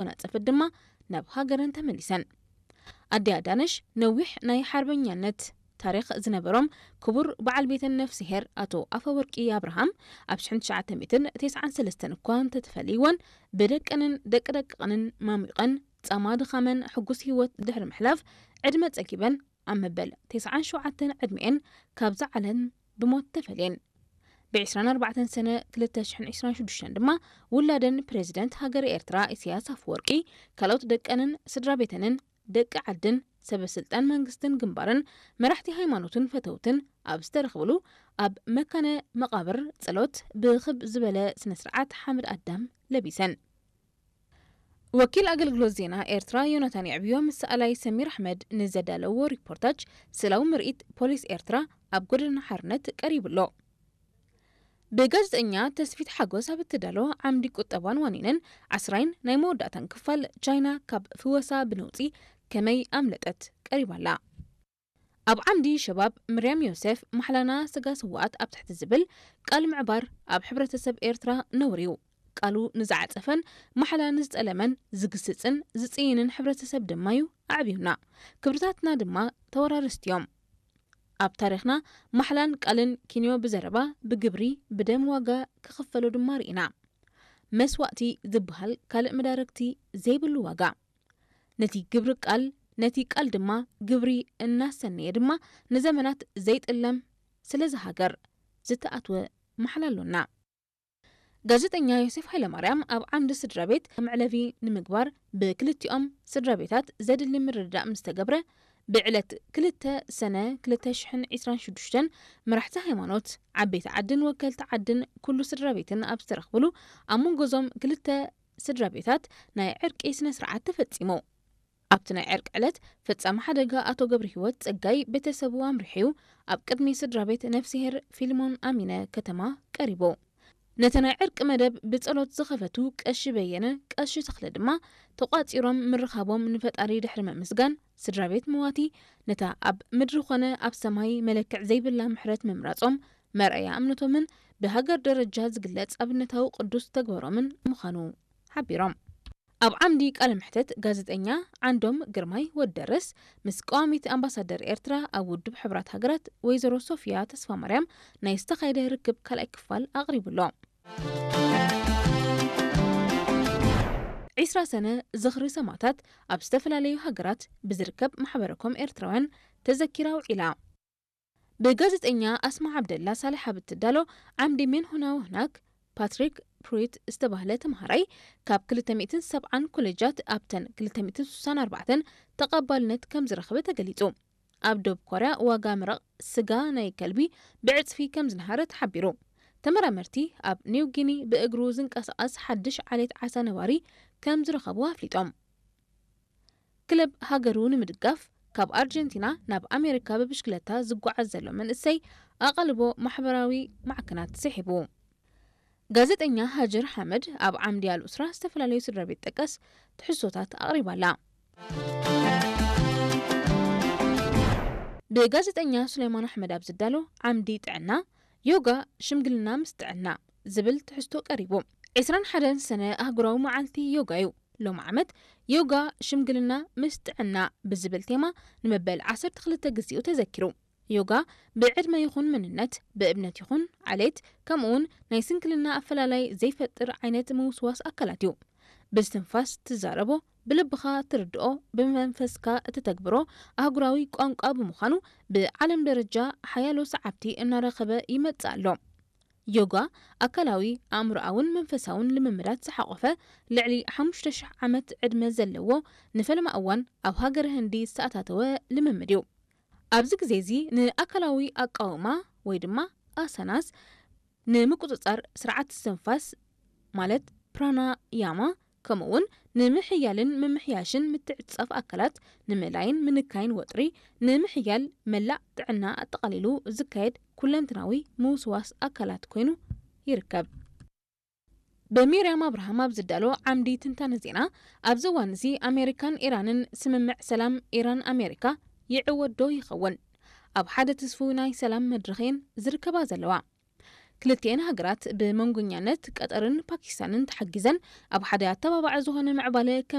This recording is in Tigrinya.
ተጎናጸፈት ድማ ናብ ሃገረን ተመሊሰን። ኣዲኣ ዳነሽ ነዊሕ ናይ ሓርበኛነት ታሪኽ ዝነበሮም ክቡር በዓል ቤተን ነፍስሄር ኣቶ ኣፈወርቂ ኣብርሃም ኣብ ሽሕን ትሽዓተ ሚእትን ተስዓን ሰለስተን እኳ እንተተፈለይወን፣ ብደቀንን ደቂ ደቅቕንን ማሚቐን ጻማ ድኻመን ሕጉስ ህይወት ድሕሪ ምሕላፍ፣ ዕድመ ጸጊበን ኣብ መበል ተስዓን ሸውዓተን ዕድሚኤን ካብዛ ዓለም ብሞት ተፈልየን። ብ ዕስራን ኣርባዕተን ሰነ ክልተ ሽሕን ዕስራን ሽዱሽተን ድማ ውላደን ፕሬዚደንት ሃገረ ኤርትራ ኢሳያስ ኣፈወርቂ፣ ካልኦት ደቀንን ስድራ ቤተንን ደቂ ዓድን ሰበ ስልጣን መንግስትን ግንባርን መራሕቲ ሃይማኖትን ፈተውትን ኣብ ዝተረኽብሉ ኣብ መካነ መቓብር ጸሎት ብኽብ ዝበለ ስነ ስርዓት ሓመድ ኣዳም ለቢሰን። ወኪል ኣገልግሎት ዜና ኤርትራ ዮናታን የዕብዮ ምስ ሰኣላይ ሰሚር ኣሕመድ ንዘዳለዎ ሪፖርታጅ ስእላዊ ምርኢት ፖሊስ ኤርትራ ኣብ ጎደና ሓርነት ቀሪቡ ኣሎ። ብጋዜጠኛ ተስፊት ሓጎስ ኣብ እትዳሎ ዓምዲ ቁጠባን ዋኒንን ዓስራይን ናይ መወዳእታን ክፋል ቻይና ካብ ፍወሳ ብነውጺ ከመይ ኣምለጠት ቀሪባ ኣላ። ኣብ ዓምዲ ሸባብ ምርያም ዮሴፍ ማሕላና ስጋ ስውኣት ኣብ ትሕቲ ዝብል ቃል ምዕባር ኣብ ሕብረተሰብ ኤርትራ ነውሪ እዩ። ቃሉ ንዝዓጸፈን ማሕላ ንዝጠለመን ዝግስጽን ዝጽይንን ሕብረተሰብ ድማ እዩ ኣዕብዩና። ክብርታትና ድማ ተወራረስቲ እዮም። ኣብ ታሪኽና ማሕላን ቃልን ኪንዮ ብዘረባ፣ ብግብሪ፣ ብደም ዋጋ ክኽፈሎ ድማ ርኢና። መስዋእቲ ዝበሃል ካልእ መዳርግቲ ዘይብሉ ዋጋ። ነቲ ግብሪ ቃል፣ ነቲ ቃል ድማ ግብሪ እናሰነየ ድማ ንዘመናት ዘይጥለም ስለዚ ሃገር ዝተኣትወ ማሕላ ኣሎና። ጋዜጠኛ ዮሴፍ ሃይለማርያም ኣብ ዓምዲ ስድራ ቤት መዕለቢ ንምግባር ብክልቲኦም ስድራ ቤታት ዘድሊ ምርድዳእ ምስ ተገብረ፣ ብዕለት ክልተ ሰነ ክልተ ሽሕን ዕስራን ሽዱሽተን መራሕቲ ሃይማኖት፣ ዓበይቲ ዓድን ወከልቲ ዓድን ኩሉ ስድራ ቤትን ኣብ ዝተረኽብሉ፣ ኣብ መንጎዞም ክልተ ስድራ ቤታት ናይ ዕርቂ ስነ ስርዓት ተፈጺሙ። ኣብቲ ናይ ዕርቂ ዕለት ፈጻሚ ሓደጋ ኣቶ ገብረሂወት ጸጋይ ቤተሰቡ ኣምሪሑ'ዩ ኣብ ቅድሚ ስድራ ቤት ነፍስሄር ፊልሞን ኣሚነ ከተማ ቀሪቡ። ነቲ ናይ ዕርቂ መደብ ብጸሎት ዝኸፈቱ ቀሺ በየነ፣ ቀሺ ተኽለ ድማ ተቋጺሮም ምርኻቦም ንፈጣሪ ድሕሪ ምምስጋን፣ ስድራ ቤት መዋቲ ነታ ኣብ ምድሪ ኾነ ኣብ ሰማይ መለክዕ ዘይብላ ምሕረት ምምራጾም መርኣያ እምነቶምን ብሃገር ደረጃ ዝግለጽ ኣብነታዊ ቅዱስ ተግባሮምን ምዃኑ ሓቢሮም። ኣብ ዓምዲ ቃለ መሕተት ጋዜጠኛ ዓንዶም ግርማይ ወዲ ደረስ ምስ ቀዋሚት ኣምባሳደር ኤርትራ ኣብ ውድብ ሕቡራት ሃገራት ወይዘሮ ሶፊያ ተስፋማርያም ናይ ዝተኻየደ ርክብ ካልኣይ ክፋል ኣቕሪቡ ኣሎ። ዕስራ ሰነ ዝኽሪ ሰማእታት ኣብ ዝተፈላለዩ ሃገራት ብዝርከብ ማሕበረ ኮም ኤርትራውያን ተዘኪራ ውዒላ። ብጋዜጠኛ ኣስማ ዓብደላ ሳልሕ ኣብ እትዳሎ ዓምዲ ሜን ሆና ወህናክ፣ ፓትሪክ ፕሩይት ዝተባህለ ተምሃራይ ካብ ክልተ ሚእትን ሰብዓን ኮሌጃት ኣብተን ክልተ ሚእትን ስሳን ኣርባዕተን ተቐባልነት ከም ዝረኸበ ተገሊጹ። ኣብ ደቡብ ኮርያ ዋጋ መረቕ ስጋ ናይ ከልቢ ብዕጽፊ ከም ዝነሃረ ተሓቢሩ። ተመራመርቲ ኣብ ኒው ጊኒ ብእግሩ ዝንቀሳቐስ ሓድሽ ዓሌት ዓሳ ነባሪ ከም ዝረኸቡ ኣፍሊጦም። ክለብ ሃገሩ ንምድጋፍ ካብ ኣርጀንቲና ናብ ኣሜሪካ ብብሽክለታ ዝጓዓዝ ዘሎ መንእሰይ ኣቓልቦ ማሕበራዊ ማዕከናት ስሒቡ። ጋዜጠኛ ሃጅር ሓመድ ኣብ ዓምዲ ኣልኡስራ ዝተፈላለዩ ስድራ ቤት ጠቀስ ትሕዝቶታት ኣቕሪባ ኣላ። ብጋዜጠኛ ሱሌማን ኣሕመድ ኣብ ዝዳሎ ዓምዲ ጥዕና፣ ዮጋ ሽምግልና ምስ ጥዕና ዝብል ትሕዝቶ ቀሪቡ። ዕስራን ሓደን ሰነ ኣህጉራዊ መዓልቲ ዮጋ እዩ። ሎም ዓመት ዮጋ ሽምግልና ምስ ጥዕና ብዝብል ቴማ ንመበል ዓሰርተ ክልተ ግዜኡ ተዘኪሩ። ዮጋ ብዕድመ ይኹን መንነት፣ ብእምነት ይኹን ዓሌት፣ ከምኡውን ናይ ስንክልና ኣፈላላይ ዘይፈጥር ዓይነት ምውስዋስ ኣካላት እዩ። ብስትንፋስ ትዛረቦ፣ ብልብኻ ትርድኦ፣ ብመንፈስካ እትተግብሮ ኣህጉራዊ ቋንቋ ብምዃኑ ብዓለም ደረጃ ሓያሎ ሰዓብቲ እናረኸበ ይመጽእ ኣሎ። ዮጋ ኣካላዊ፣ ኣእምሮኣውን መንፈሳውን ልምምዳት ዝሓቖፈ ልዕሊ ሓሙሽተ ሽሕ ዓመት ዕድመ ዘለዎ ንፈለማ እዋን ኣብ ሃገረ ህንዲ ዝተኣታተወ ልምምድ እዩ። ኣብዚ ግዜ እዚ ንኣካላዊ ኣቃውማ ወይ ድማ ኣሳናስ፣ ንምቁጽጻር ስርዓት ትንፋስ ማለት ፕራናያማ፣ ከምኡውን ንምሕያልን ምምሕያሽን ምትዕጻፍ ኣካላት፣ ንምእላይን ምንካይን ወጥሪ፣ ንምሕያል መላእ ጥዕና ኣጠቓሊሉ ዝካየድ ኩለንትናዊ ምውስዋስ ኣካላት ኮይኑ ይርከብ። ብሚርያም ኣብርሃም ኣብ ዝዳሎ ዓምዲ ትንታነ ዜና፣ ኣብዚ እዋን እዚ ኣሜሪካን ኢራንን ስምምዕ ሰላም ኢራን ኣሜሪካ ይዕወት ዶ ይኸውን? ኣብ ሓደ ትስፉው ናይ ሰላም መድረኽ እየን ዝርከባ ዘለዋ። ክልቲኤን ሃገራት ብመንጎኛነት ቀጠርን ፓኪስታንን ተሓጊዘን ኣብ ሓደ ኣተባባዒ ዝኾነ ምዕባለ